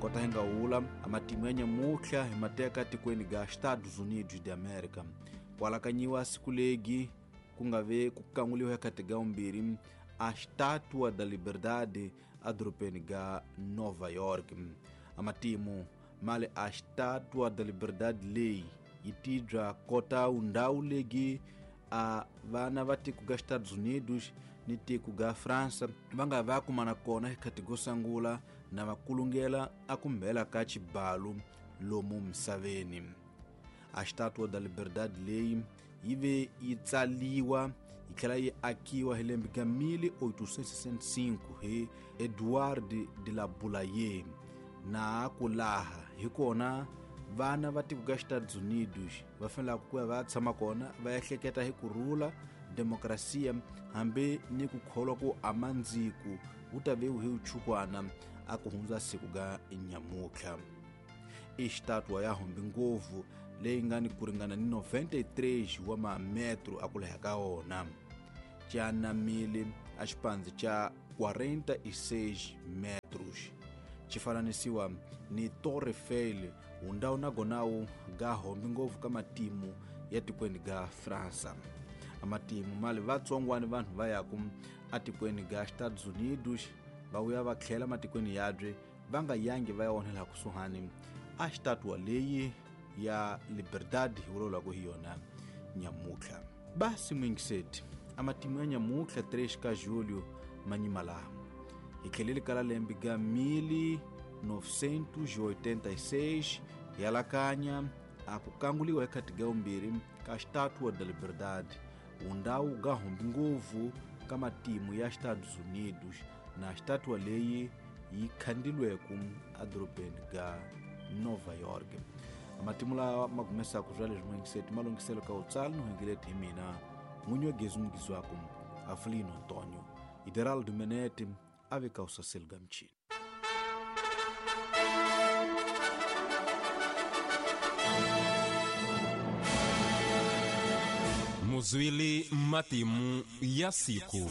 Kota hi nga wula a matimu ya nyamutlha hi mateka tikweni ga Estados Unidos de America. Kwalakanyiwa siku legi ku nga ve ku kanguliwa ekati ga umbirhi a Estátua da Liberdade edorobeni ga Nova York. A matimu mali a Estátua da Liberdade leyi yi tibya kota undhawu legi a vana va tiko ga Estados Unidos ni tiko ga Fransa va nga va kumana kona hi go sangula na va kulungela a kumbhela ka xibalu lomu misaveni. A Estátua da Liberdade leyi yi ve yi tsaliwa yi tlhela yi akiwa hi lembe ka 1865 hi Edouard de la Boulaye, na ku laha hi kona vana va tiko ga Estados Unidos va fanelaka ku ya va tshama kona va ehleketa hi ku rhula, demokrasiya hambi ni ku kholwa ku amandziku wu ta ve hi uchukwana a ku hundza siku ga nyamutlha. I xitatuwa ya humbi ngopfu leyi nga ni ku ringana ni 93 wa mametro a ku leha ka wona, xa anamile a xipandzi xa 46 metros, xi fananisiwa ni Torre Eiffel wundawu na gonawu ga hombi ngopfu ka matimu ya tikweni ga Fransa. A matimu mali vatsongwani vanhu va yaku atikweni ga Estados Unidos va vuya va tlhela matikweni yabye va nga yangi va ya onhela kusuhani a xitatuwa leyi ya Liberdade hi vulavulaka hi yona nyamutlha. Basi mwingiseti a matimu ya nyamutlha 3 ka julho manyima laha hi tlheleli ka la lembe ga 1986 hi alakanya a ku kanguliwa ekati ga umbirhi ka Estátua da Liberdade, wundawu ga humbi ngopfu ka matimu ya Estados Unidos, na xitatuwa leyi yi khandilweku edorobeni ga Nova York. Matimu lawa ma gumesaka swa leswi mwingiseti malunghiselo ka utsala no hengeleti hi mina n'winyi wa gezi mugizi waku Avelino Antonio Ideraldo Menete a ve ka usaseli ga michini. Muzwili matimu ya siku.